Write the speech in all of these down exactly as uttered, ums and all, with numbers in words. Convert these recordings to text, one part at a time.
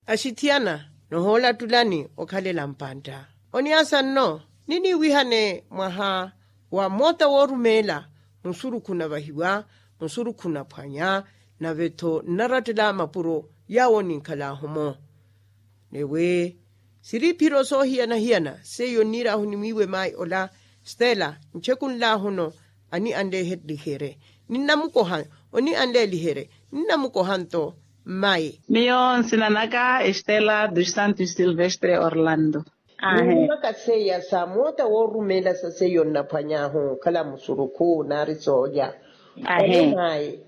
axithiyana nohoolattulani okhalela mpantta. Oniasa nno niniiwihane mwaha wa moota woorumeela musurukhu navahiwa, musurukhu naphwanya, nave-tho nnarattela mapuro yaawo ninkhalaahu-mo. Newe siriphiro soohiyana-hiyana seiyo nniiraahu nimwiiwe mayi ola stela nchekunlaahu-no. Ani anleelihere ninnamukoha, oni anleelihere ninnamukoha nto. Mmayi miyo nsina naka estela dos santos silvestre orlando. Ahe. Niwimaka seiya sa moota woorumeela sa seiyo nnaphwany'ahu okhala musurukhu naari soolya. Ahe. Mayi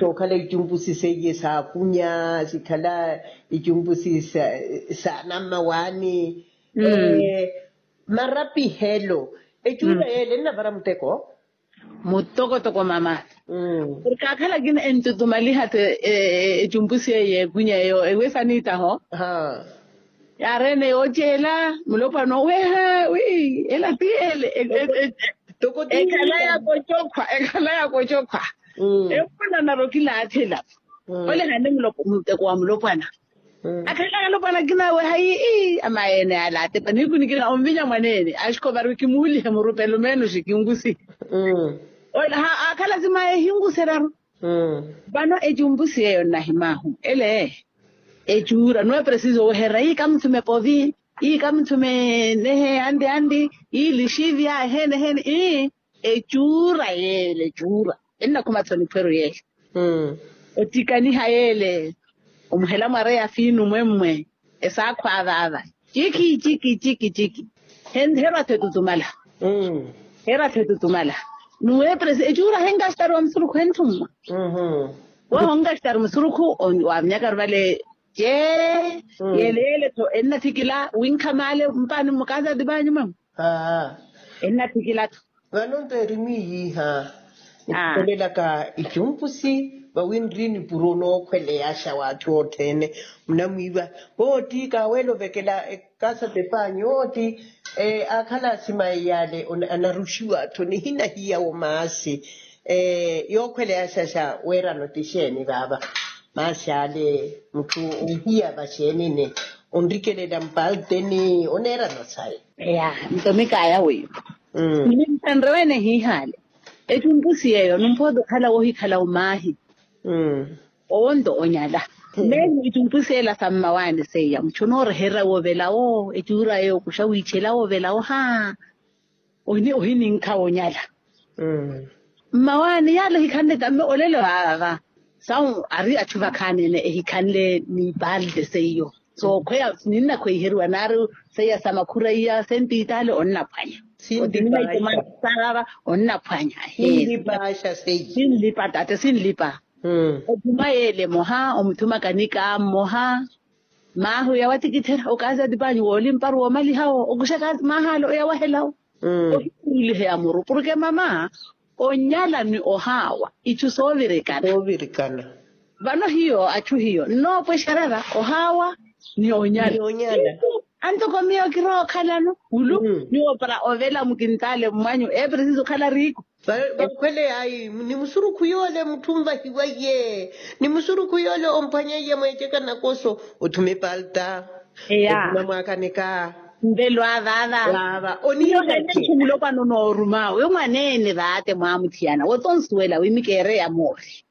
sookhala icumpusi seiye saakunya sikhala icumpusi sa nammawaani. Marapihelo ecuula yeele ennavara muteko. Mutokotoko mama. Porke akhala akina entutumaliha-tho ecumpusi eyo yeekunya eyo ewe saniitaho. Yaareene yooceela mulopwana oweha wi ela ti ele. Ekhala yakocokhwa ekhala yakocokhwa. Ewo onanara okilaathela. Ole hane muteko wa mulopwana. Akhala alopwana akina aweha ii amayi ene ala atepa nihiku nikina onvinya mwaneene axikovari kimuulihe murupelo meenoxi kinkusi. Akhala simayi ehinkuseraru. Vano ecumpusi eyo nnahimaahu ele ecuura nuwe presiso oweherera ii kamuthume povi ii kamuthume nehe anti anti ii lixivya eheene eheene ii ecuura yeele ecuura. Ennakhuma-tho niphweru yeele otikaniha yeele omuhela mwareya fiinu mwemmwe esaakhwa vaava ciki ciki ciki ciki. Heera-tho etutumala heera-tho etutumala nuweeperesi ecuura henkastari wa musurukhu hentthumma. Weho onkastari musurukhu waavinyakaru vale cee yeele yeele-tho ennathikila winkhamale mpaani mmukaza atipaanyu mama. Ennathikila-tho. Vano nto eri mwiiyiiha nikhuvelelaka icumpusi vawi nri nipuro nookhweleyaxa w'atthu othene. Munamwiiva wooti kaaweela ovekela ekasa tepaanyu wooti akhala asimayi yaale anaruxiwa-tho nihina hiyawo maasi. Yookhweleyaxa xa weerano ti xeeni vaava? Maasi ale mutthu onhiya vaxeenene onrikelela mpalteni oneerano sayi. Eya nto mikaya wiiwa. Nliphanre wene hiihale ecumpusi yeeyo numpoota okhala woohikhala omaahi. Owo nto onyala meehi ecumpusi ela sa mmawaani seiya mutthu onooreherya woovelawo ecuura yeeyo okuxa wiichela woovelawo haa. Ohininkha wonyala mmawaani yaala ehikhanle tamme olelo vaava. Sawu ari atthu vakhaanene ehikhanle niipalde seiyo sookhweya ninnakhweiheriwa naari seiya sa makhura iya sentitaale onnaphwanya. Otinina itumana saava onnaphwanya. Sinlipa tate sinlipa. Othuma yeele emoha omuthuma kanika mmoha. Maahi oya watikithela okazi atipanyu woolimparu woomalihawo okuxa kazi maahi ale oya wahelawo. Ohikuuliheya muru porke mama onyala ni ohaawa ichu soovirikana. Vano hiyo achu hiyo nnoopwexererya ohaawa ni onyala. Anto komiyo kirookhalano wulu niwoopara ovela mukintaale mmanyu epresiso okhala riiku. Vakhwele ayi ni musurukhu yoole mutthu onvahiweiye ni musurukhu yoole omphwanyeiye mweeceka nakoso othuma epalta. Eya othuma mwaakaneka. Nvelo avaava vaava oniivace. Mulopwana onooruma wi mwaneene vaate mwaamuthiyana wotonsuwela wi mikeereya moori.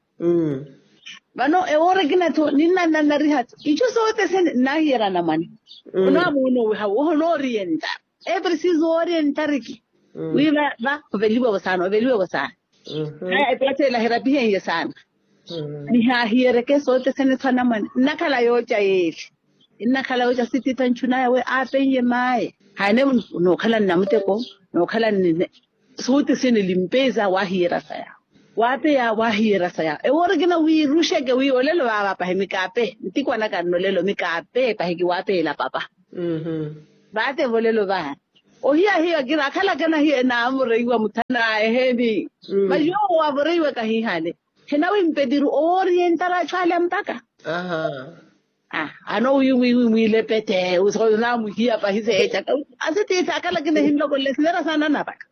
Vano ewoora ekina-tho ninnananariha-tho ichu sothene nnaahiyerana mwane. Onaamoona owiha woho onooriye ntari epresiso wooriye ntariki. Wi va oveliwe-vo saana oveliwe-vo saana. Epatela herapihenye saana. Nihaahiyereke sothene-tho anamwane nnakhala yooca yeeli. Nnakhala yooca sitiitha nchunaya wi aapenye maye. Haene nookhala nnamuteko nookhala nnine. Sothene limpeza waahiyerasa yaawe waapeya waahiyerasa yaawe ewoora ekina wiiruxeke wi olelo vaava pahi mikaape ntikwanaka nno olelo mikaape pahi kiwaapeyela papa. Vaatevo olelo vaava ohiya hiyo akira akhala akana hiyo enaamureiwa muthana eheeni. Masi yoowo waavoreiwaka hiihale hinawimpetiru owooriye ntara achu ale mpakha. Ano wi mwiilepete onaamuhiya pahi seecaka asitiitha akhala akina ehinlokolela esinera saana anapakha.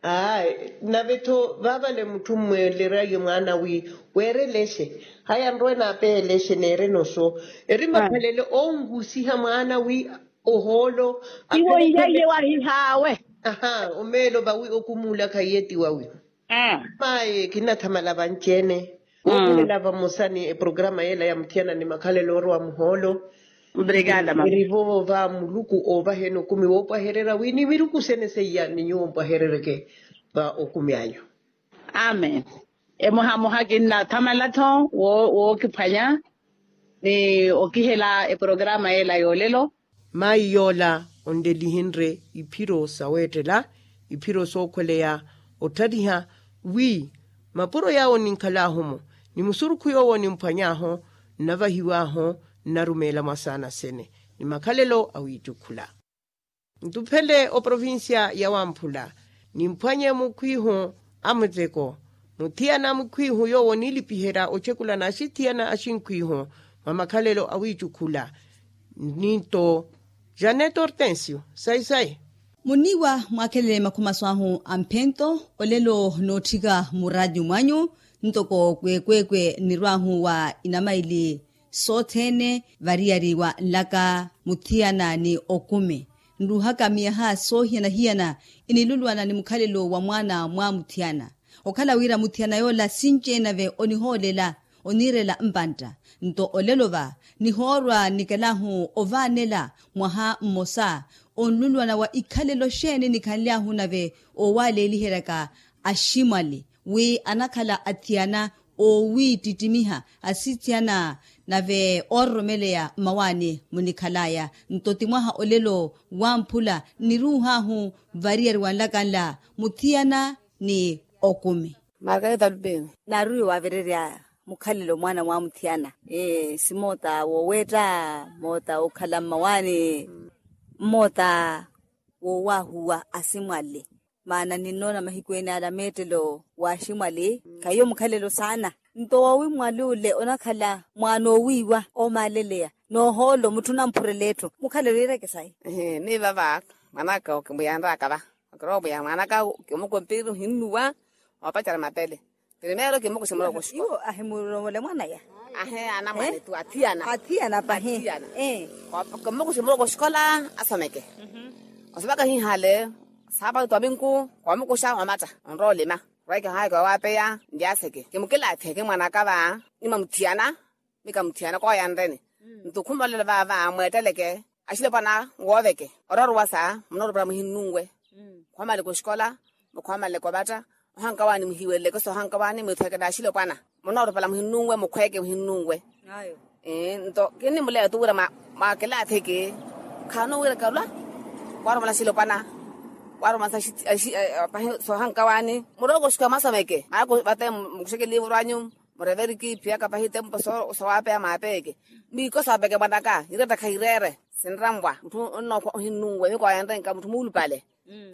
Ayi, nave-tho vaavale mutthu mmweelerya mwaana wi weere lexe. Haya nrowe naapehe lexe neerene oso. Eri makhalelo onhusiha mwaana wi ohoolo. Iwo iyaye wahihaawe. Aha, omeelo vawi okumuula khaiye ti wawi. Maye kinnathamala vanci-ene. Ookhulela vamosa ni eprograma yeela ya muthiyana ni makhalelo oorowa muhoolo. Eri voova muluku oovaheni okumi woopwahererya wi ni miruku sene seiya ni nyuwo mpwaherereke va okumi anyu. Amen. Emohamoha kinnathamala-tho wookiphwanya ni okihela eprograma yeela yoolelo. Mayi yoola onlelihenrye iphiro saweettela iphiro sookhweleya otthaliha wi mapuro yaawo ninkhalaahu-mo ni musurukhu yoowo nimphwanyaahu nnavahiwaahu nnarumeela mwasaana sene ni makhalelo awiicukhula. Ntuphele oprovincia ya wamphula nimphwanye mukhwihu a muteko muthiyana mukhwihu yoowo niilipiherya ocekula n'axithiyana axinkhwihu mwa makhalelo awiicukhula. Ninto janet hortensio sayi sayi. Muniiwa mwaakhelele makhumaso ahu a mphento olelo nootthika muraanyu mwanyu ntoko kweekweekwe nirwaahu wa inamaili sothene variyari wa nlaka muthiyana ni okumi nruuhaka miyaha soohiyana-hiyana inilulwana ni mukhalelo wa mwaana mwa muthiyana okhala wira muthiyana yoola sinci-ene nave onihoolela oniirela mpantta nto olelo va nihoorwa nikelahu ovaanela mwaha mmosa onlulwana wa ikhalelo xeeni nikhanly'ahu nave oowaleeliheryaka aximwali wi anakhala athiyana oowiittittimiha asithiyana nave oororomeleya mmawaani munikhalaya nto ti mwaha olelo wamphula nniruuh'ahu variyari wa nlaka nla muthiyana ni okumi. Margarita lupeni naaruiwe waavererya mukhalelo mwaana mwa muthiyana simoota wooweetta moota okhala mmawaani mmoota woowahuwa asimwali maana ninnoona mahiku ene ala meettelo wa aximwali khahiyo mukhalelo saana nto woowimwali ole onakhala mwaana oowiiwa oomaaleleya noohoolo mutthu onampurela etthu mukhalelo iireke sayi. Miiva va mwanaka okimuyanraka va okirowa omuya mwanaka kimukompiri ohinnuwa oopacerya mapele primeiro kimukuxi muloko oxikola iwo ahimuromole mwanaya ahe anamwane tu athiyana athiyana pahi kimukuxi muloko oxikola asomeke osomaka hihale saapatu twaminku koomukuxa omatta onrowa olima rweke ohayaka owaapeya ndyaseke kimukilaathe kimwanaka va nimwa muthiyana mika muthiyana kooyanreni nto khumolelo vaava mweetteleke axilopwana wooveke orooruwasa munoorupala muhinnunwe khoomaleka oxikola mukhoomaleka ovatta ohankawaani muhiweleleke soohankawaani mwiithweke n'axilopwana munoorupala muhinnunwe mukhweeke muhinnunwe nto kinnimuleya tu wira mwa kilatheke khaano wira kalwa waarumola axilopwana waarumola pahi soohankawaani murooko oxikola mwasomeke maana vate mukuxeke liivuru anyu mureveri kiiphiyaka pahi tempo sowaapeya maapeyeke miiko soopeke mwanaka ireetta khayireere sinramwa mutthu onnookhwa ohinnunwe miiko ayanrenka mutthu muulupale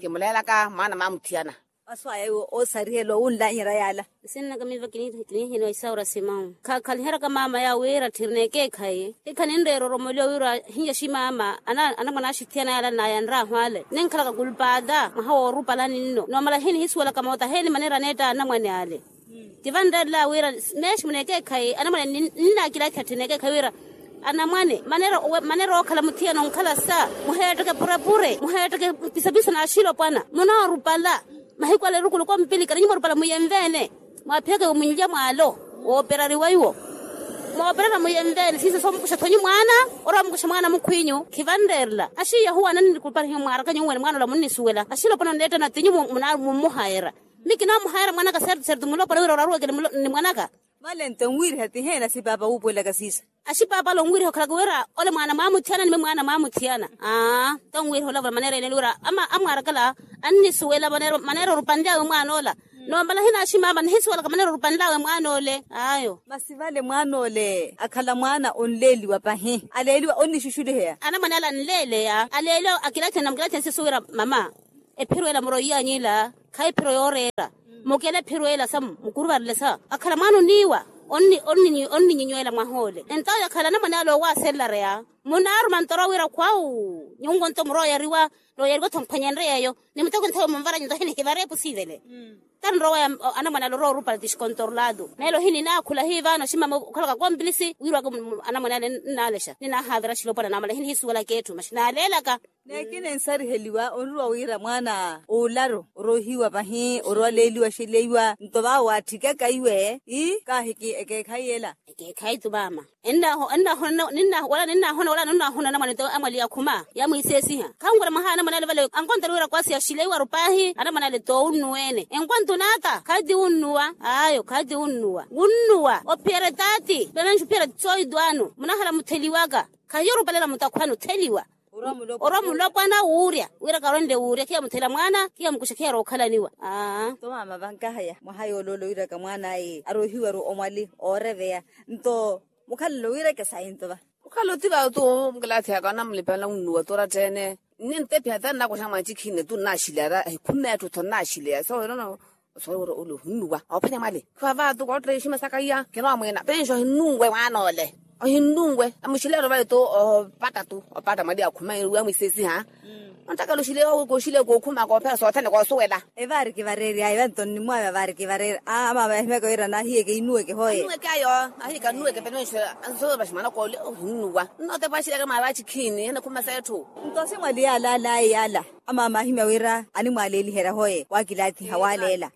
kimuleelaka mwaana maamuthiyana masu aya iwo oosarihela owunlanyerya yaala nsinnaka miiva kinihiniwa isaura simau khakhaliheryaka maama yaawe wira tthirina ekeekhayi hikha ninreera oromoliwa wira hinya ximaama anamwane axithiyana yaala nnayanraahu ale ninkhalaka kulpaata mwaha woorupala ninno noomala hini hisuwelaka moota heeni maneera aneetta anamwane ale tivanreerela wira meexi muneekeekhayi anamwane ninnakilakiha tthina ekeekhayi wira anamwane maneera ookhala muthiyana onkhala sa muheetteke purepure muheetteke pisapiso n'axilopwana munoorupala mahiku ale erukuluku ompilikana nyuwo mwarupala muyenve-ene mwaaphiyaka iwo munlya mwaalo wooperariwa iwo moopererya muyenve-ene siiso soomukuxa thonyi mwaana orowa mukuxa mwaana mukhw'inyu khivanreerela axiiya huwa ananiruparihiwa mwaaraka nyuwo wene mwaana ola munnisuwela axilopwana onneettana ti nyuwo mummuhayera mi kinoomuhayera mwanaka sertu sertu mulopwana wira oraruweke ni mwanaka vale nto onwiiriha ti heena sipaapa wuupuwelaka siisa axipaapa ale onwiiriha okhalaka wira ole mwaana mwaamuthiyana ni mi mwaana mwaamuthiyana aa nto onwiiriha olavula maneera ene wira amwaarakala annisuwela maneera orupanly'awe mwaana ola noomala hina aximaama nihisuwelaka maneera orupanly'awe mwaana ole ayo masi vale mwaana ole akhala mwaana onleeliwa pahi aleeliwa onnixuxuliheya anamwane ale anleeleya aleeliwa akilatheni namukilatheni sisu wira mama ephiro ela muroiyanyu ila khayi ephiro yooreera mukele ephiro ela sa mukuruvarele sa akhala mwaana oniiwa Onninyinywela mwaha ole entawo yakhala anamwane ale owaaselareya. Munaaruma ntoro wira khwawu nyungo nto murooyariwa. Nooyariwa tho mphwanyenre yeeyo ni muteko nthayo munvaranyu nto hini hivare epusi ivele. Tari nrowa ya anamwane ale orowa orupale ti xikontorolado nelo hini naakhula hivaano ximama okhalaka komplisi wirwaka. Anamwane ale nnaalexa ninaahaavira xilopwana naamala hini hisuwelaka etthu maxi naaleelaka. Neekina ensariheliwa onruwa wira mwaana oolaru orohiwa vahi orwaleeliwa xeleiwa nto vaawo waatthikaka iwe ii kaahiki ekeekhayi ela. Ekeekhayi tu maama. Wala ninnaahona wala ninnaahona anamwane ti amwali akhuma yamwiisesiha khanwira mwaha anamwane ale vale ankontari wira kwasiya xileiwa rupaahi anamwane ale toowunnuwa ene enkwantu naata khayi ti wunnuwa ayo khayi ti wunnuwa wunnuwa ophiyerya taati penanxu ophiyerya sooyitwaano munahala mutheliwaka. Khahiyo orupalela mutakhwani otheliwa orwa mulopwana wuurya wira karonle wuurya khiya muthela mwaana khiya mukuxa khiya rookhalaniwa. Aa. Tomaama vankahaya mwaha yooloolo wiraka mwaan'aye arohiwaru omwali ooreveya nto mukhalelo wireke sayi nto va. Mukhalelo ti vayo tu mukilaathi yaka anamulipela wunnuwa tu oratta-ene. Nnintepiha te nnakuxa mwacikhine tu nnaaxilera ehikhuma etthu tho nnaaxileya soowerano. Osoowira ole ohinnuwa oophwanya mwale khiwa vaatu kootteiximasaka iya kinoomwiina penxi ohinnunwe mwaana ole. Ohinnunwe amuxileero vale tu opatta tu opatta mwali akhuma wamwisesiha. Ontaka luxile kookhuma koophera sothene koosuwela. Evaari kivareeryaye vanto nnimwaya vaari kivareerya amaama yahimyaka wira nahiyeke innuweke hoye. Ayo ahiyeke annuweke penwenxo. Ansowe vaxi mwanaka ole ohinnuwa nnootepa axileke mwaari vachikhini enakhuma setthu. Nto si mwali yaala alayi yaala amaama ahimya wira animwaleeliherya hoye waakilaathiha waaleela.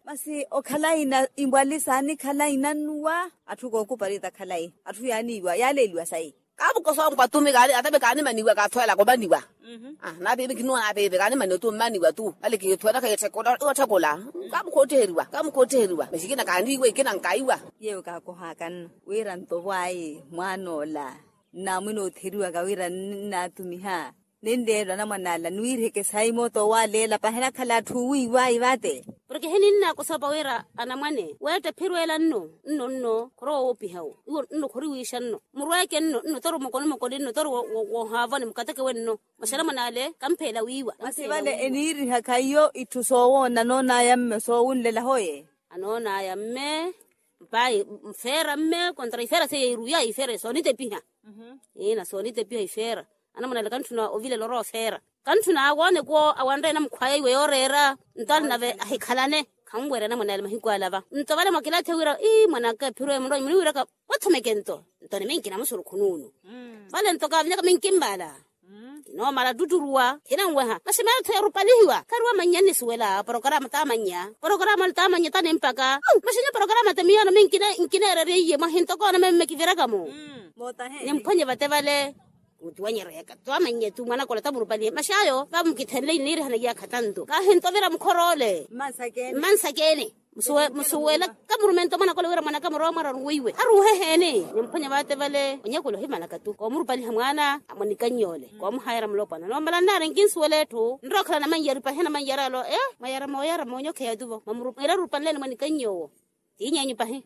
Masi okhalayi na imwali saanikhala inannuwa. Atthu kookupari takhalayi atthu yaaniiwa yaaleeliwa sayi. Kaamukosa ompwa tu mi kaani ata mi kaanimaniwa kaathweelaka omaniwa. Naapiipi kinuwa naapiipi kaanimaniwa tu mmaniwa tu vale kiitthweelaka itthekula. Kaamukhoottiheriwa kaamukhoottiheriwa maxi ikina kaaniiwa ikina nkaiwa. Yeewo kaakohaaka nno wira nto vwaayi mwaan'ola nnaamwina ootheriwaka wira nnaatumiha ninleelo anamwan'ala niwiiriheke sayi mooto owaaleela pahenakhala atthu owiiwaayi vaate. Porke hininnaakosapa wira anamwane weetta ephirweela nno nno nno khorowa woopiha wo iwo nno khoriwiixa nno murweeke nno nno toru mokonomokoni nno toru woohaavoni mukateke wenno. Mwaxana mwan'ale kampheela wiiwa masi vale eniirihaka iyo itthu soowoona anoon'aya mme soowunlela hoye. Anoon'aya mme mpayi mfeera mme kontra ifeera seiya iruya ifeera soonitepiha. Ina soonitepiha ifeera anamwan'ale kantthuna ovilela orowa ofeera. Kantthuna awooneke awanre namukhwaya iwe yooreera nto alinave ahikhalane. Khanwerya anamwan'ale mahiku ala va nto vale mwakilaathiha wira ii mwan'aka ephiro emunrowa muniwiraka wathomeke nto nto niminki namusurukhu nuunu. Vale nto kaavinyaka minki mmaala kinoomala ttutthuruwa khinanweha maxi meettho yarupalihiwa khariwa mannya nnisuwela porokaraama taamannya porokaraama taamannya tanimpaka. Maxi nyo porokaraama ti miyaano minkina nkineererya iye mwahi ntokoona memme kiviraka-mo. Nimphwanye vate vale. Mutiwanyereyaka twamannye tu mwanaka ola tamurupalihe maxi ayo vamukithenle iniirihana iyaakha tanto kaahintovira mukhor'ole. Mmansakene musuwela kamurumento mwanaka ole wira mwanaka murowa mwararu weiwe aruuhe heeni. Nimphwanya vaate vale onyakula ohimalaka tu koomurupaliha mwaana amwanikannye ole koomuhayara mulopwana noomala nnaari nkinsuwela etthu nrowa okhala namanyari pahi namanyari alo e mwayara mooyara moonyokheya tuvo mwamurupaliha mwiira rupanleni mwanikannye owo. Tiiny'enyu pahi.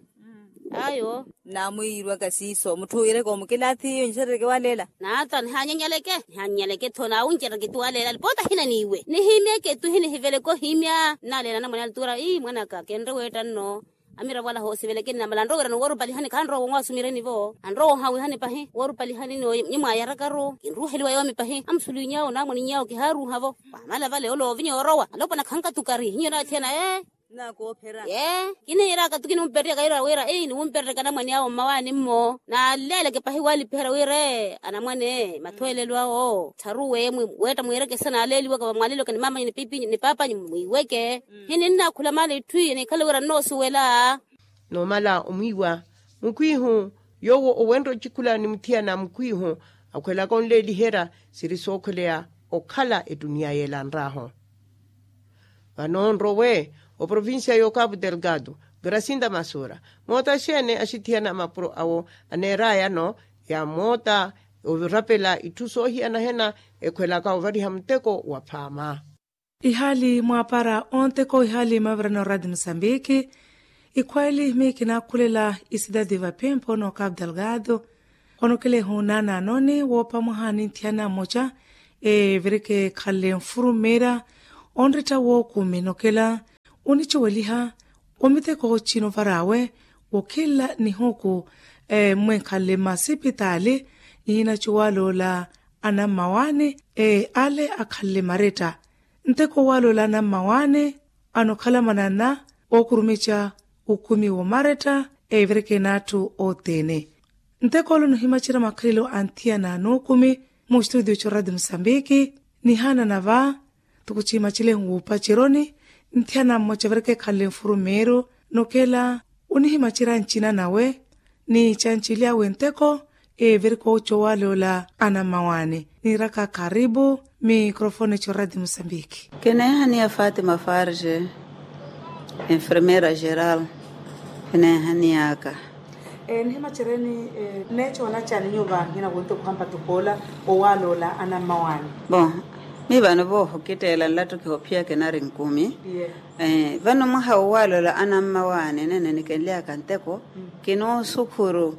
Ayo. Naamwiirwaka siiso mutthu owiireke omukilaathi iyo nixerereke waleela. Naata nihaanyanyaleke nihaanyanyaleke tho naawuncereke tu waleela alipoota ahina niiwe nihiimyeke tu hinihiveleke ohiimya. Nnaaleela anamwane ale tuura ii mwanaka kenre weetta nno amiravo ala hoosiveleke nnamala anrowa wira nuworupalihani khanrowa wonwaasumireni-vo anrowa wonhawihani pahi worupalihani nyo mwaayaraka-ru kinruuheliwa yoomi pahi amusuliny'awo naamwaniny'awo kihaaruuha-vo. Wamala vale ole ovinya orowa alopwana khankatukari hinyo naathiyana ee. Ee kiniiraka tu kinimperryaka yira wira ii niwumperryaka anamwane awo mmawaani-mmo naalleeleke pahi walipiherya wira ee anamwane mathweelelo awo ttharuwe weetta mwiirekesa naaleeliwaka vamwaleliwaka ni maamanyu ni paapanyu mwiiweke. Hininnaakhula maana itthu iyo nikhale wira nnoosuwela. Noomala omwiiwa mukhwiihu yoowo owenrya ocikhula ni muthiyana mukhwiihu akhwelaka onleeliherya siri sookhweleya okhala ettuniya yeela nraahu. Vano nrowe oprovincia y'okapu delgado gracinda masura moota xeene axithiyana mapuro awo aneerayano ya moota orapela itthu soohiyana hena ekhwelaka ovariha muteko wa phaama. Ihaali mwaapara onteko ihaali mavirano radi musambiki ikhweeli miikinakhulela isidadi vapempo n'okapu delgado. Khonokelehu naanaanoni woopa mwaha ninthiyana mmoca evireke ekhanle nfurumera onretta wookume nokela onicuweliha omiteko cino varaawe Okhinla nihuku, mmwenkhanle mmasipitaali, ihinatthi owaloola anammawaani ale akhanle maretta. Nteko owaloola anammawaani anokhala mananna, ookurumica ukumi woomaretta, evireke n'atthu othene. Nteko ole onihimacerya makhalelo a nthiyana n'ukumi, mu studio c'oradi musambiki, nihanana va, tukucihimaceleihu wuupaceroni. Nthiyana mmoca evireke ekhanle nfurumeeru, nokela onihimacerya ncina nawe, ni cancilyawe nteko, evireke oca owaloola anammawaani. Niiraka karipu, mikrofone c'oradi musambiki. Kineehaniya fatima farge, enfermeera geral. Kineehaniyaka. Nihimaceryeni, neecoona cani nyuva nhina wonte okhampa tukoola owaloola anammawaani? Bon, mi vano voohokitteela nlattu kihophiyaka enari nkumi. Vano mwaha wowaloola anammawaani nene nikenlyaka nteko, kinoosukhuru.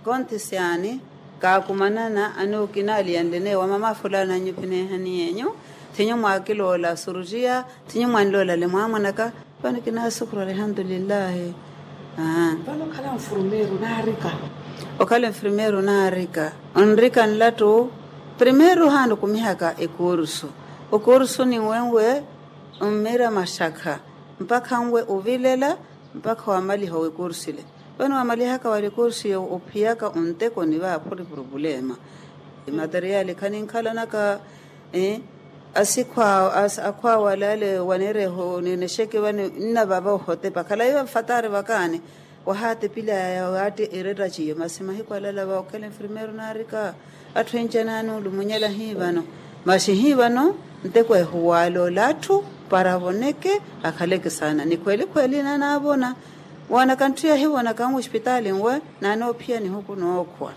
Konthi syaani kaakumanana anuukinaaliyanlene wamama fulani anyu phineehaniyenyu, thinyu mwaakiloola surutiya, thinyu mwanloolale mwaamwanaka. Vano kinaasukhuru alihandulillahi. Vano okhala nfurumeeru naarika? Okhala nfurumeeru naarika. Onrika nlattu primeeru haana okumihaka ekursu. Okursu ninwenwe, mmiira maxakha mpakha nwe ovilela, mpakha wamaliha owekursu ile. Vano wamalihaka wali ekursu iyo ophiyaka onteko ni vaaphuri purupulema. Materiali khaninkhalanaka. Asikhwa akhwaawa alaale waneereho ninexeke vano nnavava ohotepa khalayi vafatari vakaani. Wahaatepilaya waatti eretta ciyo masi mahiku alala va okhela enfirmeeru naarika. Atthu enca naani olumunyela hii vano, masi hii vano nteko ehuwaala ole atthu para avoneke, akhaleke saana ni khweli khweli naanaavona. Woonaka ntthi yahivonaka nwe ospitaali nwe naanoophiya nihuku nookhwa.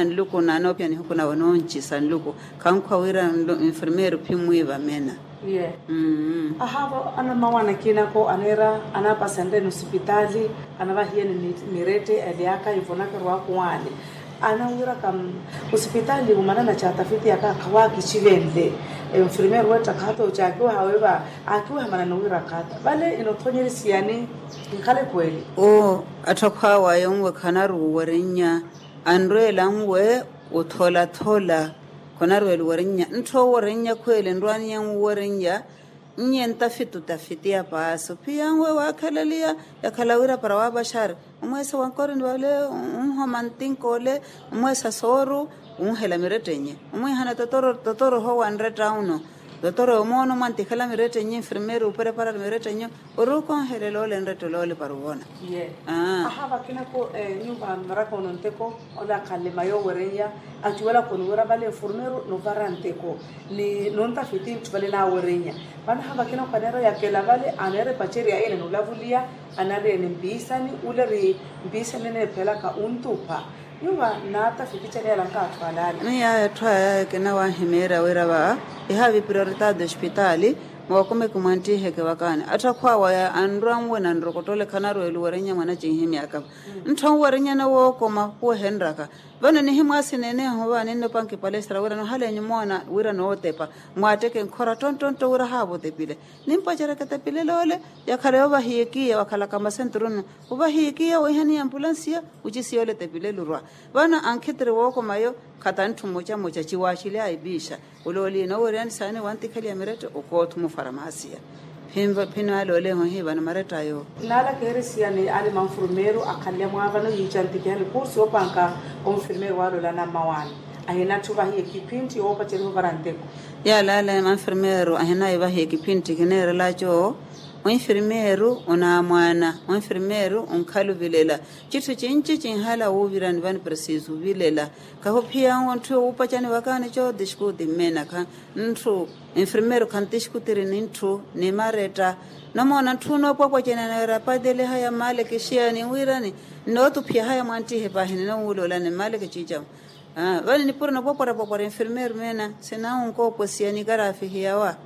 Nluku naanoophiya nihuku nawe nooncisa nluku. Khankhwa wira nfirmeeru phimwiiva mena. Ahaavo anammawaana akinako aneera anaapasenreni osipitaali, anavahiyeni mirette elyaka ivonaka erwaaku waani. Anawiraka osipitaali omanana caatafiti yaka khawaakixivenle. Enfirmeeru wetta khaata ocaakiwaha weeva aakiwaha manana owira khaata vale inothonyerisiya ni? Ikhale khweli. Oo atthu akhwaawa yonwe khanaruuwerennya. Anrweela nwe otholathola. Khonarweela owerennya ntthu owerennya khweli nrwaaniya nwewerennya. Nnye ntafiti otafiti ya paasi ophiya nwe waakhalaliya. Yakhala wira para waapaxari omweesa wa nkorini vale, onhoma ntinka ole, omweesa sooru, onhela mirettenye omwiihana totoro totoro ohowa nretta uno. Totoro omoona omwantikhala mirettenye nfirmeeri oopereparari mirettenye. Ori okonhelela ole nretta ole ole para ovona. Ahaa vakinako nyuva mmaraka ono nteko ole akhanle mayo owerennya. Acuwelaka oniwira vale nfurmeeru novara nteko ni nontafiti ntthu vale naawerennya. Vano ahaa vakinako aneera oyakela vale aneera epacerya ina noolavuliya. Anariyene mpiisani ule ri mpiisani eneephelaka ontupha. Nyuva naatafiti cani yalanka atthu alaala. Ni yaya atthu aya kinawahimeerya wira va ihavi prioritaati ospitaali. Mookumeki mwanttiheke vakaani atthu akhwaawa ya anrwa nwe na nrokottole khanarweela owerennya mwana cinhimyaka. Ntthu anwerennyana wookoma khuwehenryaka. Vano nihimwaasineene ehova ninnopanki palestra wira nohalenyu moona wira nootepa. Mwaatteke nkhora ttonttontto wira haavo otepile. Nimpacereke etepilelo ole yakhala yoovahiyeke iya wakhalaka masenturunu. Ovahiyeke iya wiihaniye ampulansiya. Ocisiya ole etepilelo orwa. Vano ankhitiri wookoma yo khata ntthu mmocamoca ciwaaxily'aya epiixa. Olooliye nooweriyani saani wantikheliya mirette okoothuma ofaramaasiya. Phinva phino ale oleeho hii vano maretta ayo. Naala keerisiyani ale manfurmeeru akhanle mwaavano yiicantikihani kursi yoopanka onfirmeeru waalolana mmawaani. Ahinatthu vahiya ekiphintti yoopaceriha ovara nteko. Yaale ale manfirmeeru ahinaya evahiya ekiphintti kineerelaco. Onfirmeeru onaamwaana onfirmeeru onkhala ovilela. Citthu cinci cinhala wuuvirani vano presiso ovilela. Kahuphiya nwe ntthu yoowupacani vakaani cootiskuti mmenakha. Ntthu enfirmeeru khantiskuti ri ni ntthu ni maretta. Nomoona ntthu noopwapwacana neera apateliha ya mmaleke xiya niwirani. Nnootuphiyahaya mwanttihe paahi ninowuuloolani mmaleke ciicamu. Vale nipuro nopwapwarapwapwara enfirmeeru meena sinawu nkoopwesiya ni karaafihiya wa.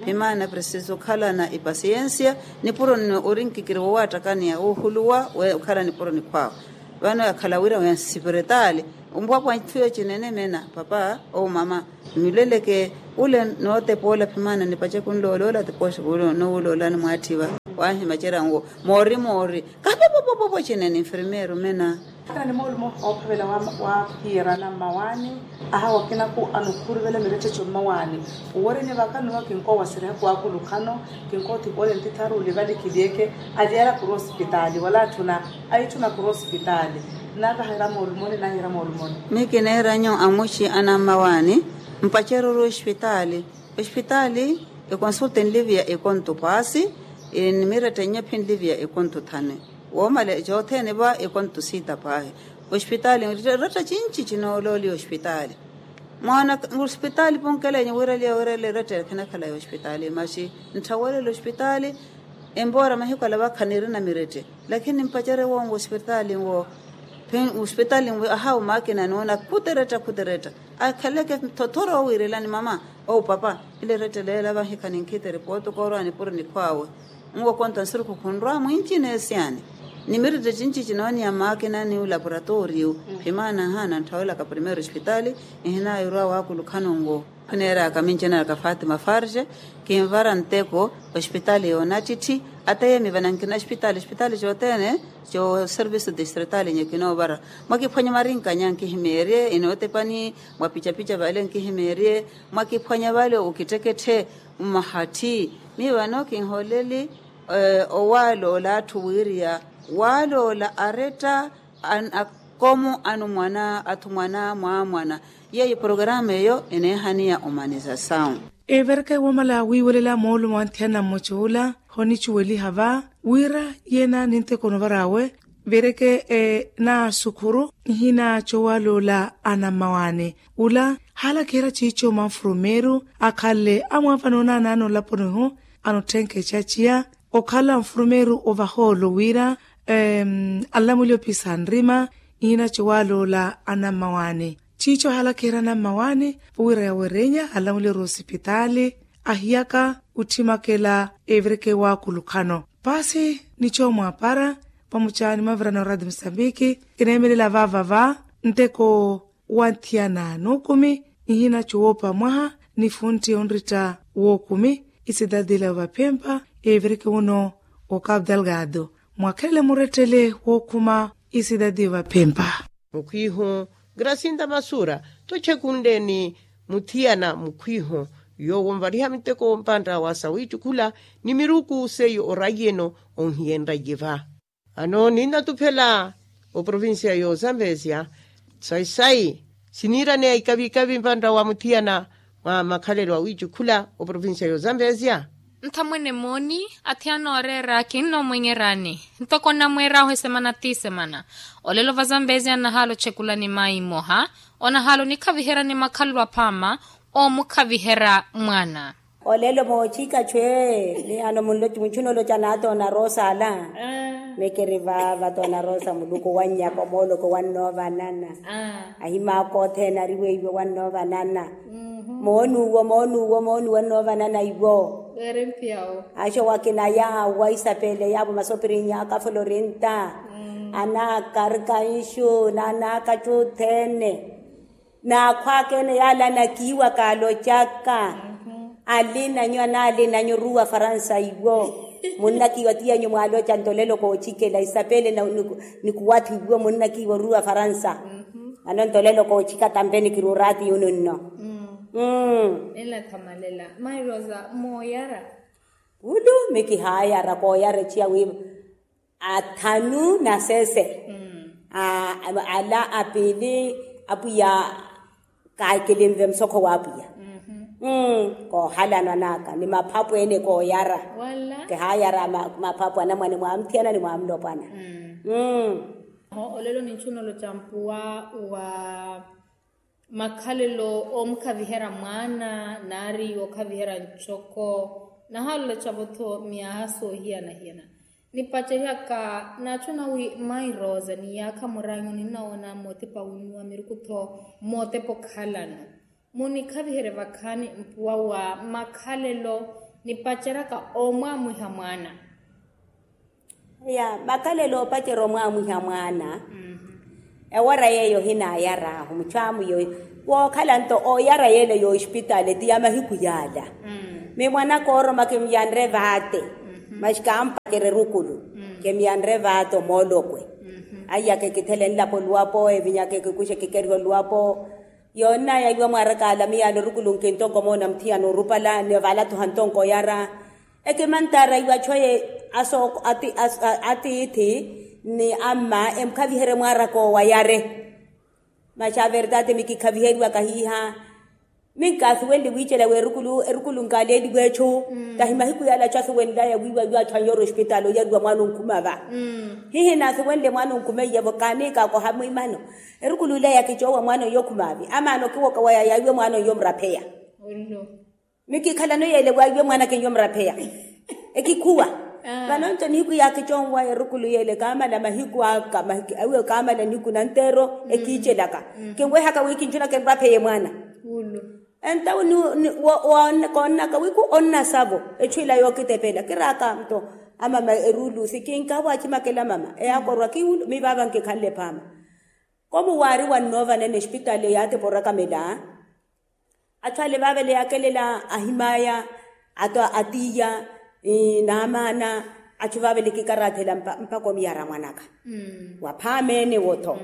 Phimaana presiso okhalana epasiyensiya. Nipuro nno ori nkikiri wowaattakaniya woohuluwa okhala nipuro nikhwaawa. Vano yakhala wira wa nsipiritaali. Ompwapwa ntthu yo cinene meena papa ou mama. Nuleleke ule nootepa ola phimaana nipace kunlooloola tipooxe kulo nowuloolani mwaatthi va. Waahimacerya nwo moori moori. Kapopopo. Opopocene ni nfirmeeru mena. Kana ni moolumo oophavela wa hiirana mmawaani. Aha wakinaku anukhuruvela miretteco mmawaani. Owereni vakaniwa kinkoowaserya kuwakulukhano. Kinkoothipole ntitharu olivalikiliyeke. Aliyara kuru osipitaali wala atthuna. Aitthuna kuru osipitaali. Nnaavahera moolumoni naahiira moolumoni. Miyo kineera nyo amuxi anammawaani. Mpacererye ospitaali. Ospitaali ekonsulta enliviya ekonto paasi. Ni mirettenye phi enliviya ekonto thanu. Woomale cothene va ekonto siita paahi. Ospitaali eretta cinci cinoolooliya ospitaali. Mwaana ospitaali ponkelenye wiiraliya wiiraliya eretta khinakhala ya ospitaali maxi. Ntthawelela ospitaali. Empoora mahiku ala vakha nirina mirette. Lakini nimpacere wonwo ospitaali nwo. Ospitaali nwo ahawu maakina noona khuti eretta khuti eretta. Akhaleke thothoro owiirelani mama. Owu papa. Ile eretta leela vahikha ninkhite ripooto koorwa nipuri nikhwaawe. Nwo konta nsuruku khunrwa mwincina esiyani. Ni mirette cinci cinooniya maakina ni olaporatoriyu. Phimaana nhaana ntthawelaka primeiro ospitaali. Nhinayirwa waakulukhano nwo. Khuneeraka mincinaraka fatima farge. Kinvara nteko ospitaali yoonattitti. Ata yeemivana nkina ospitaali ospitaali cothene. Coserviso distritaali nyo kinoovara. Mwakiphwanya marinka nya nkihimeerye inootepani. Mwapicapica vale nkihimeerye. Mwakiphwanya vale okitteketthe. Mmahatthi. Miyo vano kinhooleli. Owaaloola atthu wiiriya waaloola aretta. Akomo anumwana athumwana mwaamwana. Yeeyo porokaramu eyo eneehaniya omanizasawu. Everka ewomala wiiwelela moolumo wa nthiyana mmoca ola. Honicuweliha va wira yeena ninteko onovar'awe. Vereke naasukhuru nihina cowaloola anammawaani. Ula haalakiherya ciico mwa nfurumeeru akhalle amwaavana onaanaana olaponihu. Anotthenke caciya okhala nfurumeeru ovahoolo wira anlamwile opisa nrima. Nihina cowaloola anammawaani. Ciico ahaalakiherya anammawaani wira yawerenya anlamwile oruwa osipitaali. Ahiyaka otthimakela evireke waakulukhano. Paasi ni coomwaapara pamucaani mavirana oradi musambiki. Kineemelela vaavava nteko wa nthiyana n'ukumi nihina cowoopa mwaha ni funtti onritta w'okumi. Isidadi ila yoovaphempa evireke wuno okapu dalgado mwakhelele murettele wookhuma. Isidadi yoovaphempa mukhwihu grasinta masura. Tochekunle ni muthiyana mukhwihu yoowo onvariha miteko mpantta wa sawiitti khula ni miruku seiyo oraiyeno onhiyenraiye va. Ano ninnatuphela oprovincia y'ozambezia sayi-sayi siniiraneya ikavi-ikavi mpantta wa muthiyana mwa makhalelo awiicukhula oprovincia y'ozambezia. Nthamwene mooni athiyana ooreera kinnoomwenyerani ntoko nnamweer'ahu esemana ti semana. Olelo vazambezia nnahaala ochekulani mayi mmoha onahaala onikhaviheryani makhalelo aphaama. Oomukhaviherya mwaana. Olelo moochika chwe ni ano munchuna olocha naatoona rosa ala. Mekeri vaava toona rosa muluku wannyaka omooloko wannoovanana. Ahimaaka othene ariweiwe wannoovanana. Moonuwo moonuwo moonuwo annoovanana iwo. Axa wakinaya wa isapele yaavo masopirinyaaka florinta. Anaaka arikanxu naanaaka cothene. Naakhwaaka ene yaala anakiiwa kaalocaka. Alinanyu anaalinanyu oruwa faransa iwo. Munnakiiwa tiyanyu mwaaloca ntolelo koochikela isapele nikuwathu iwo munnakiiwa oruwa faransa. Ano ntolelo koochika tampe nikirurati yununno. Nla thamalela mairosa mooyara. Ulu mikihaayara kooyara eciya wiiva. Athanu na sese. Ala apili apwiya. Kilinve musokho w'apwiya. Koohalanwa naka ni maphapu ene kooyara. Kihaayara maphapu anamwane mwamuthiyana ni mwamulopwana. Olelo ninchuna oloca mpuwa wa makhalelo oomukhaviherya mwaana nari wookhaviherya ncoko. Nahaala oloca-vo-tho myaha soohiyana-hiyana. Nipaceryaka naachuna wi mairosa ni yaakha muranyu ninnawoona mootepa winnuwa miruku-tho mootepa okhalano. Munikhaviherye vakhaani mpuwa wa makhalelo nipaceryaka oomwaamwiha mwaana. Ya makhalelo opacerya omwaamwiha mwaana. Ewara yeeyo ohinayar'ahu muchwaamu yoyo wookhala nto ooyara yeela y'ospitaali ti ya mahiku yaala. Mi mwanaka ooroma kimyanre vaate. Masi kampakere erukulu kemiyanre vaata omoolokwe. Aiyaka ekithele nlapo oluwapo evinyaka ekikuxe kikeriwa oluwapo. Yoonnaya iwe mwaaraka ala miyaano erukulu nkintonko moona muthiyana orupala ni ovalathuha ntonko oyara. Ekimantaara iwe achu eye atiithi ni amma emukhaviherye mwaaraka owo ayare. Masi a verdade mikikhaviheriwaka hiiha. Minkasuwenle wiicela w'erukulu erukulu nkaleeliwa echu. Tahi mahiku yale achu asuwenlaya wiiwa iwe achu anyoora ospitaali oyariwa mwaana onkhuma va. Hihi naasuwenle mwaana onkhumeiye-vo kaaniikaka ohamwimano. Erukulu ile yakicowa mwaana oyo okhumaavi amaana okiwoka waya yaiwe mwaana oyo omurapheya. Mikikhalano yeele waiwe mwaana keiyo murapheya. Ekikhuwa. Vano nto nihiku yaakiconwaya erukulu yeele kaamala mahiku aka awiwe kaamala nihiku nanteero ekiicelaka. Kinwehaka wi kinjunaka enrapheye mwaana. Entawo koonnaka wiku onnasavo echu ila yookitepela kiraaka nto amama eruulusi kinkawa acimakela mama eyaakorwa kiwulu mivaava nkikhanle phaama. Komu waari wannoova nene espitaali eyaatipa orakamela. Achu ale vaavale yaakelela ahimaya atiiya naamaana. Achu vaavale kikaraathela mpakha omiyara mwanaka. Waphaamene wotho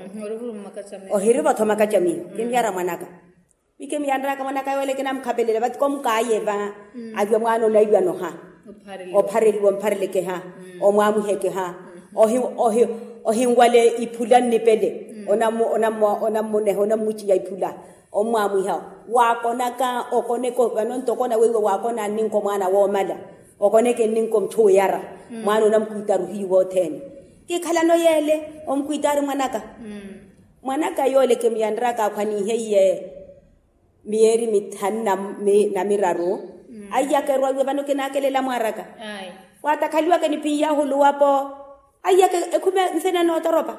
ohirivo tho makacamiho kimiyara mwanaka. Mikimiyanraka mwanaka yoole kinamukhapelela vati komukaayeva. Aviwa mwaana onaiwanoha ophareliwa ompharelekeha omwamwihekeha. Ohinwale iphula nnipele onammuneha onammuciya iphula. Ommwamwiha waakonaka okoneke vano nto okona weiwe waakona nninko mwaana woomala. Okoneke nninko muchuwiyara mwaana onamukwiitaru hiyu wothene. Kikhalano yeele omukwiitaru mwanaka. Mwanaka yoole kimuyanraka akhwaniiheiye miyeeri mithanu na miraru. Aiyaka erwa iwe vano kinaakelela mwaaraka waatakhaliwaka niphiyahu oluwapo. Aiyaka ekhume nsina nootoropa.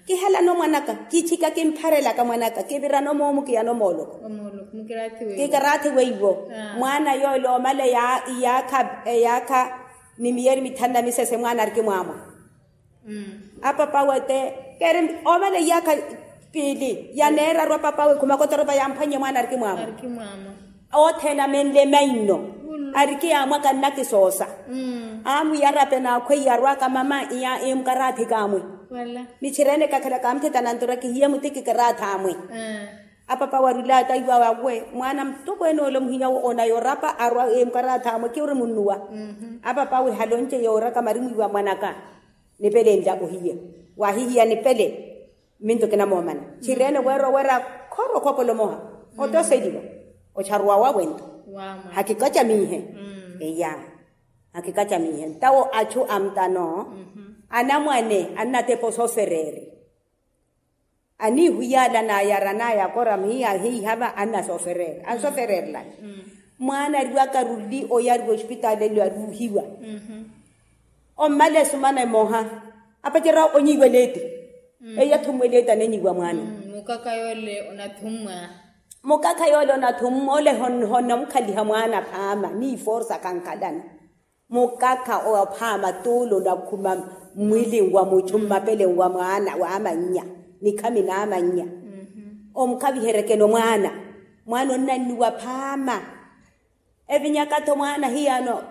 Kihelano mwanaka kichika kimpharelaka mwanaka kivirano moomu kiyano mooloko. Kikaraathi weiwo mwaana yoole omala eyaakha ni miyeeri mithanu na misese mwaana arikimwaamwa. Apapawe te keeri omala iyaakha piili yaneeraru apapawe khumaka otoropa yamphwannye mwaana arikimwaamwa. Othene amenle mainno arikiyaamwaka nnakisoosa. Amwiyarape naakhweiye arwaka mama iya emukarathi kamwe. Michirene kakhala kamuthetana ntura kihiye muti kikarathi amwe. Apapawe arulaya taiwa awe mwaana mutokweene ole muhiyawo onayorapa arwa emukarathi amwe kiwuri munnuwa. Apapawe halonce yooraka marimwiwa mwanaka. Nipele nla ohiye wahihiya nipele. Minto kinamoomana chireene weera oweera khoro okhopolomoha otoseliwa ocharuwa wawento. Hakikacamihe eya hakikacamihe ntawo achu amutano anamwane annatepa osofereeri. Aniihuyala nayara nayakora muhiya ahiihava annasofereeri ansofereerelani. Mwaana ariwaka ruli oyariwa osipitaali elo aruuhiwa. Ommala esumana emoha apacerya onyiiwa eleeti. Eyo athummwa eleeti anenyiiwa mwaana. Mukakha yoole onathummwa mukakha yoole onathummwa ole honnamukhaliha mwaana phaama niiforsa khankhalana. Mukakha ophaama tuulo onakhuma mmwiili nwa muchu mmapele nwa mwaana waamannya nikhami naamannya. Omukhaviherekeno mwaana mwaana onnannuwa phaama. Evinyaka-tho mwaana hiyano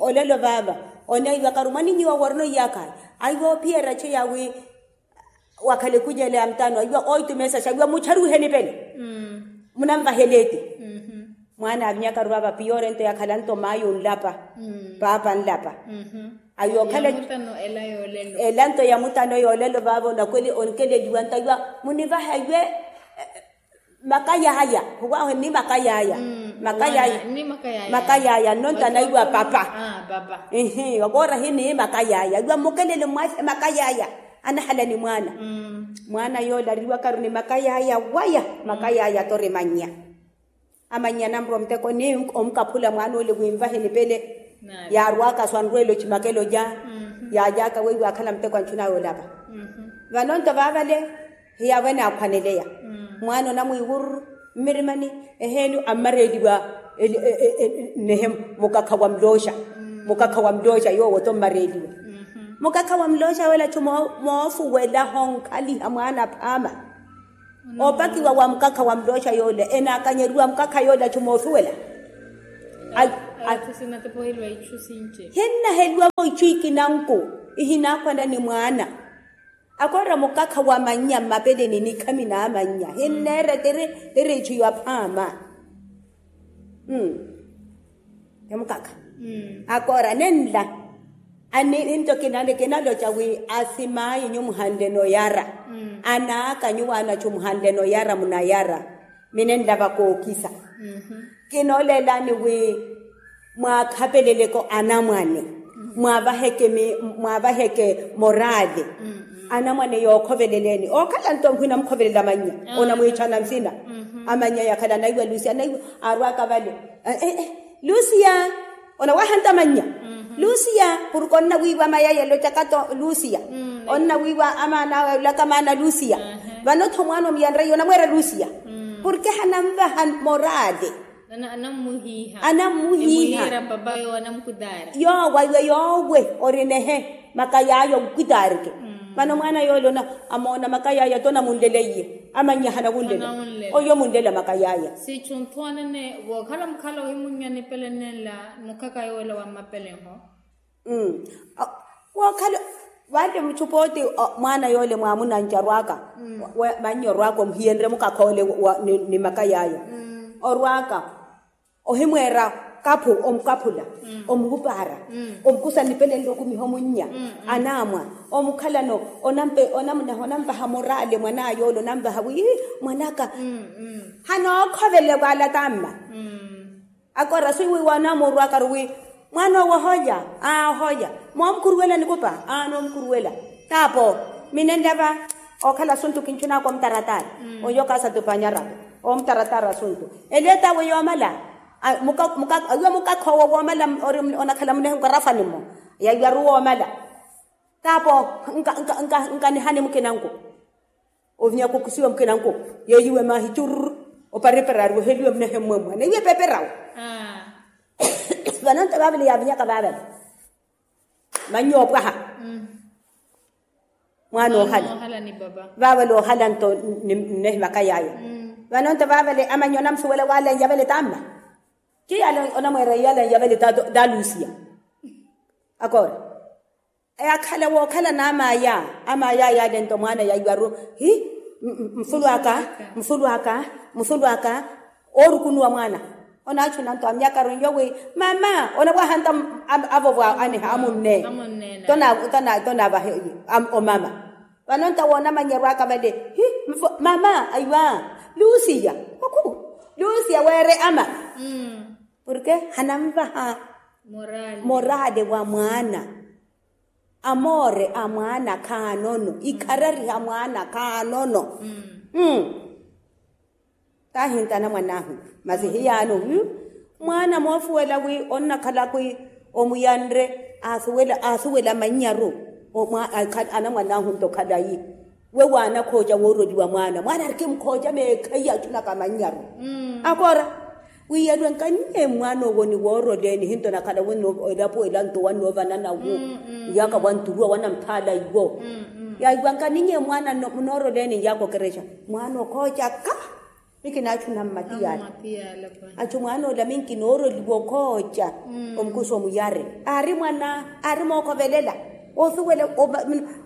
olelo vaava oneiwakaru mwaninyiwa worina oiyakhayi. Aiwa ophiyerya acheya wi wakhala ekunyele ya mutano aiwa oitumesaxa aiwa mucharuwihe nipele. Munanvahela eti mwaana avinyakaru vaava piyorento yakhalanto mayi onlapa paapa nlapa. Aiwa okhala elanto ya mutano yoolelo vaava onakweli onkeleliwa nto aiwa munivahe aiwe. Makayaya huwahu ni makayaya makayaya. Makayaya nno ntanaiwa papa. Ihi okoora hini makayaya iwa mmukelele mmwase makayaya. Anahala ni mwaana mwaana yoole ariwakaru ni makayaya waya makayaya tori mannya. Amannya anamurwa omuteko ni omukaphula mwaana ole winvahe nipele. Yaarwaka swanrwela ocimakela oja yaajaaka weiwa akhala muteko anchuna yoolapa. Vano nto vaavale hiyavo enaakhwaneleya mwaana onamwiiwururu mmirimani eheeni ammareeliwa. Nehe mukakha wa mulooxa mukakha wa mulooxa yoowo to mmareeliwa. Mukakha wa mulooxa yoole achu moofuwela honkhaliha mwaana phaama. Opakiwa wa mukakha wa mulooxa yoole enaakanyeriwa mukakha yoole achu moosuwela. Hinnaheliwavo ichu ikinanku, ihinaakhwana ni mwaana. Akoora mukakha wa mannya mmapeleni nikhami n'amannya hinneera tiri tiri ichu yaphaama. Ti mukakha. Akoora nenla. Ninto kinaloca wi asimaayi nyuwo muhanle noyara. Anaaka nyuwo anachu muhanle noyara munayara. Minenlava kookisa. Kinooleelani wi mwaakhapeleleke anamwane. Mwaavaheke morali. Anamwane yookhoveleleni ookhala nto nkhwina mukhovelela mannya. Onamwiichana nsina. Amannya yakhala anaiwa lusia anaiwa. Arwaka vale. Lusia. Onawahanta mannya. Lusia. Purke onnawiiwa mayaya elocakato lusia. Onnawiiwa amaana awe olaka maana lusia. Vano-tho mwaana omuyanreiya onamweera lusia. Purke hanamvaha morali. Anammuhiiha. Yoowa iwe yoowe ori nehe. Makayaya onkitaarike. Vano mwaana yoole amoona makayaya ti onamunleleiye. Amannya hanamunlela. Oyo munlela makayaya. Sichu nthuwanene vookhala mukhala ohimunnya nipele nenla. Mukaka yoola wa mmapeleho. Wookhala vale muchupa oti mwaana yoole mwaamunanca orwaaka. Mannya orwaaka omuhiyenrye mukakha ole ni makayaya. Orwaaka ohimweera kaphu omukaphula. Omuhupaara. Omukusa nipelenle okumiha omunnya. Anaamwa. Omukhalano onamuneha onamvaha morale mwan'aya ole onamvaha wi mwan'aka. Hanookhovele vwala tamma. Akoora swiiwiiwa anaamwa orwaakaru wi mwaana owo oholya. Aa oholya. Moomukhuruwela nikupa aa noomukhuruwela. Taapo minenlya va. Ookhala asuntu kinchun'aka omutaratara. Oyo kaasatupanyarapo omutaratara asuntu. Eliyo t'awe yoomala. Awiwa mukakha owo woomala ori onakhala munehe nkarafani mmo. Yaiwaru woomala. Taapo nkanihani mukinanku. Ovinyaka okusiwa mukinanku. Yeeyiwe maahi churr. Oparepera ari weheliwe munehe mmwemwa neiwe epeperawo. Vanonto vaavale yaavinyaka vaavale. Mannya oopwaha. Mwaana oohala. Vaavale oohala nto nnehi makayaya. Vanonto vaavale amannya onamusuwela waala nyavale tamma. Ti yaala onamweera yaala nyavale talusia. Akoora. Yaakhala wookhala n'amaya. Amaya yaale nto mwaana yaiwaru hi. Mfulu aka. Mfulu aka. Mfulu aka. Oorukunuwa mwaana. Onaachuna nto amyakaru nyo wi mama onawahanta. Avo vwa aneha amunne. Tonavahe omama. Vano nto awo onamannyerwaka vale hi. Mama aiwa. Lusiya. Oku. Lusiya weere ama. Porke hananvaha morale wa mwaana. Amoore a mwaana khaanono ikharariha mwaana khaanono. Taahintana mwan'ahu masi hiyaano mwaana moofuwela wi onnakhala kwi omuyanre asuwela manyaru. Anamwan'ahu nto khalayi. We waanakhooca wooroliwa mwaana mwaana arikimkhooca meekhayi achunaka mannyaru. Akoora wiiyariwe nkaninye mwaana owo ni wooroleeni hinto nakhala wenno elapo ela nto wannoovana nawo. Nyaaka wanturuwa wanamuthaala iwo. Yaiwa nkaninye mwaana munooroleeni nyaaka okerexa mwaana okhooca ka. Mikinaachu nammatiyala. Achu mwaana ola minkinooroliwa okhooca. Omukusa omuyare aari mwana aari mookhovelela. Osuwela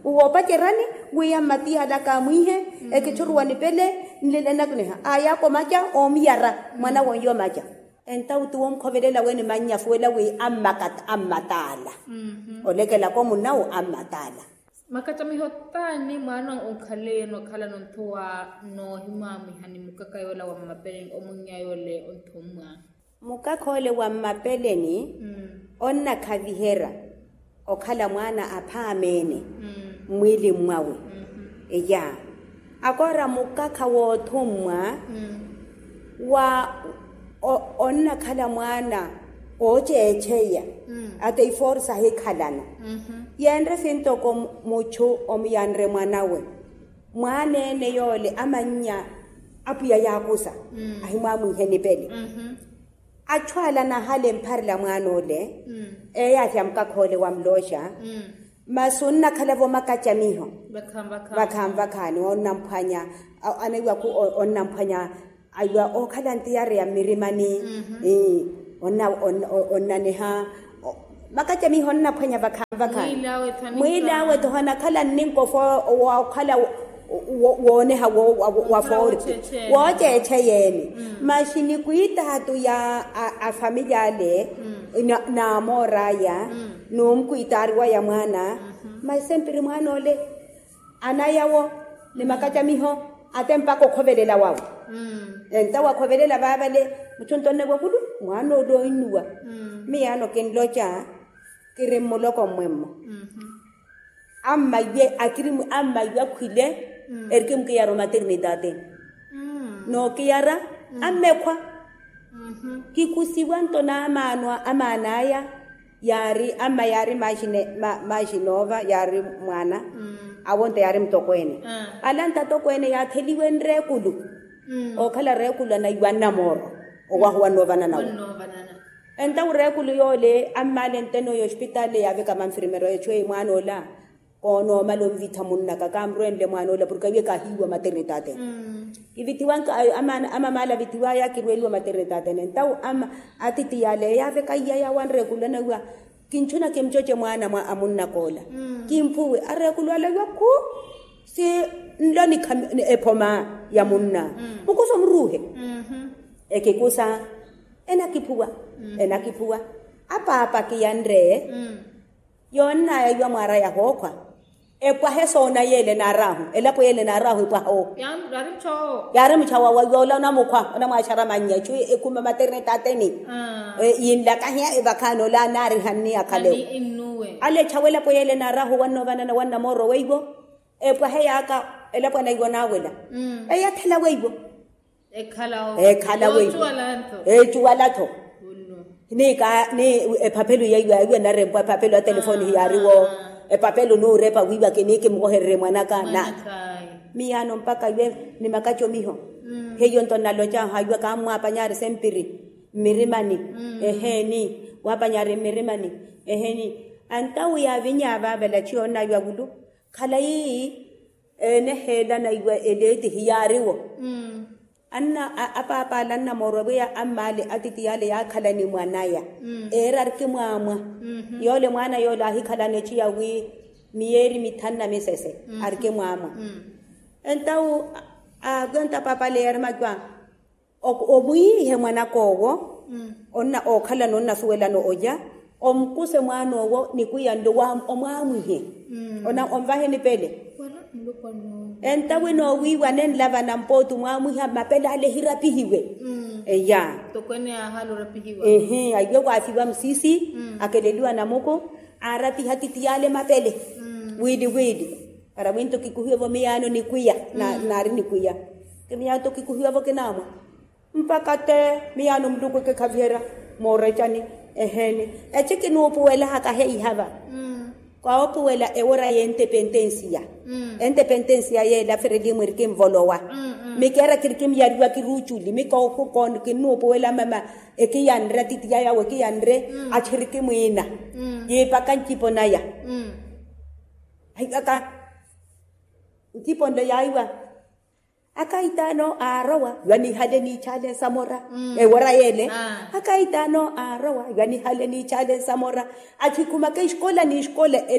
woopacerani wi ammatiyala kaamwiihe. Ekithuruwa nipele nlile nakuneha ayaka omaca oomuyara mwana wonye omaca. Entawuti woomukhovelela weni mannya asuwela wi ammatala. Olekelaka omunawu ammatala. Makacamiho taani mwaana onkhaleyeno okhalano nthuwa noohimwamwiha ni mukaka yoola wa mmapeleni omunnya yoole onthummwa. Mukaka ole wa mmapeleni onnakhaviherya okhala mwaana aphaamene mmwiili mwawe. Eya akoora mukaka woothummwa wa onnakhala mwaana ooceeceya ata iforsa ahikhalana. Yenre sintoko muchu omuyanre mwanawe mwaana ene yoole amannya apwiya yaakusa ahimwamwihe nipele. Achu ala anahale mpharela mwaana ole eyathi ya mukakha ole wa mulooxa. Masi onnakhala-vo makacamiho vakhaani vakhaani onnamphwanya anaiwaku onnamphwanya aiwa ookhala ntiyari ya mmirimani. Onnaniha makacamiho onnaphwanya vakhaani vakhaani. Mwiilaawe-tho hanakhala nninkofo wookhala wooneha wa foori wooceecheyeene. Masi nikwiitaatu ya afamilya ale n'amoor'aya n'umkwiitaari waya mwaana. Masi sempiri mwaana ole anayawo ni makacamiho ate mpakha okhovelela wawe. Entawo akhovelela vaavale muchunto onnewa kulu mwaana ole oinnuwa. Miyaano kinloca kiri mmuloko mmwemmo. Ammaiwe akiri ammaiwe akhwile erikimukiyara omaternitaateni. Nookiyara ammekhwa kikusiwa nto n'amaan'aya. Yaari amma yaari maaxinoova yaari mwaana awo nto yaari mutokweene. Ala ntatokweene yaatheliwe nreekulu ookhala reekulu anaiwa nnamooro owahuwa nnoovanana wo. Entawo reekulu yoole ammaale nteno y'ospitaale yaaveka manfirmero echu eyi mwaana ola koonoomala onvitha munnaka kaamurwenle mwaana ola porke awiye kaahiiwa maternite atene. Kivithiwanka amamaala avithiwaya kirweliwa maternite atene entawo ama atiti yale yaaveka iya yawanre ekulana wiwa kinchuna kimchoche mwana mwa amunna koola kimphuwe arekulwala wiwa khu si nlo nikha ephoma ya munna mukusa omuruuhe ekikusa enakiphuwa enakiphuwa apaapa kiyanre yoonnaya iwa mwaara yahookhwa epwahe soona yeele naaraahu elapo yeele naaraahu epwaha o yaari muchawo yoola onamukhwa onamwaaxara mannya echu ekhuma maternite ateni yinlakahiya evakhaani ola naarihanni akhalewo ale echawo elapo yeele naaraahu wanna ovanana wanna mooro weiwo epwahe yaaka elapo anaiwo naawela eyathela weiwo ekhala weiwo echuwala-tho ni epapelo yaiwa narempwa epapelo ya telefoni hiyaariwo epapelo nuurepa wiiwa kini kimukohererye mwanaka na miyaano mpaka iwe ni makacomiho heiyo nto nnalocahu haiwa kammwaapanyari sempiri mmirimani eheeni waapanyaari mmirimani eheeni antawu yaavinyaava avela chiyo onnaiwa wulu khalayi eeneheelana iwe eleetihi yaariwo anna apaapa ale annamoorwa pwiya ammaale atiti yaale yaakhala ni mwanaya eera arikimwaamwa yoole mwaana yoole aahikhalana echiya wi miyeeri mithanu na misese arikimwaamwa entawu akwenta paapa ale yeeri macwa omwiihe mwanak'owo ookhalana onnasuwelana olya omukuse mwaan'owo nikwiya nlo omwaamwihe onvahe nipele entawe noowiiwa nenlavana mpooti omwaamwiha mapele ale ehirapihiwe eya ehi aiwe waafiwa musisi akeleliwa namuku aarapiha titi yale mapele wiili wiili para winto kikuhiwe vo miyaano nikwiya naari nikwiya kimiyaano to kikuhiwa vo kinaamwa mpakha te miyaano muluku ekikhaviherya moorecani eheeni echi kinuupuwelahaka heihava koopuwela ewora y'entepentensiya entepentensiya yeela ferelimu erikinvolowa mikeera kirikimyariwa kiruuculi mikookukooni kinuupuwela mama ekiyanre atiti yaya awo ekiyanre achirikimwiina yiipaka ncipo naya ahiwaka ncipo nle yaiwa akaitaano aarowa iwa nihale niichaale nsamora ewora yeele akaitaano aarowa iwa nihale niichaale nsamora achikhumaka exikola n'exikola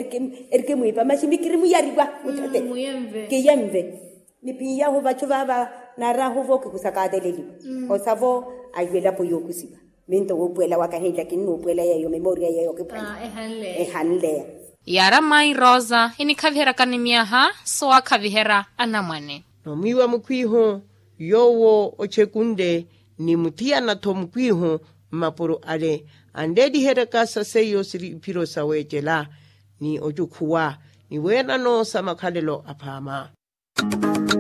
erikimwiipa maxi mikirimuyariwa muchate kiyenve niphiyahu vachu vaava naaraahu vo kikusaka ateleliwa osa vo aiwelapo yookusiwa minto wuupuwela waka hinla kinnuupuwela yeeyo memoria yeeyo kiphwanya ehanleya yaara mmayi rosa enikhaviheryaka ni myaha sowaakhaviherya anamwane nomwiiwa mukhwiihu yoowo ochekunle ni muthiyana-tho mukhwiihu mmapuro ale anleeliheryaka sa seiyo siri iphiro saweecela ni ocukhuwa ni weerano sa makhalelo aphaama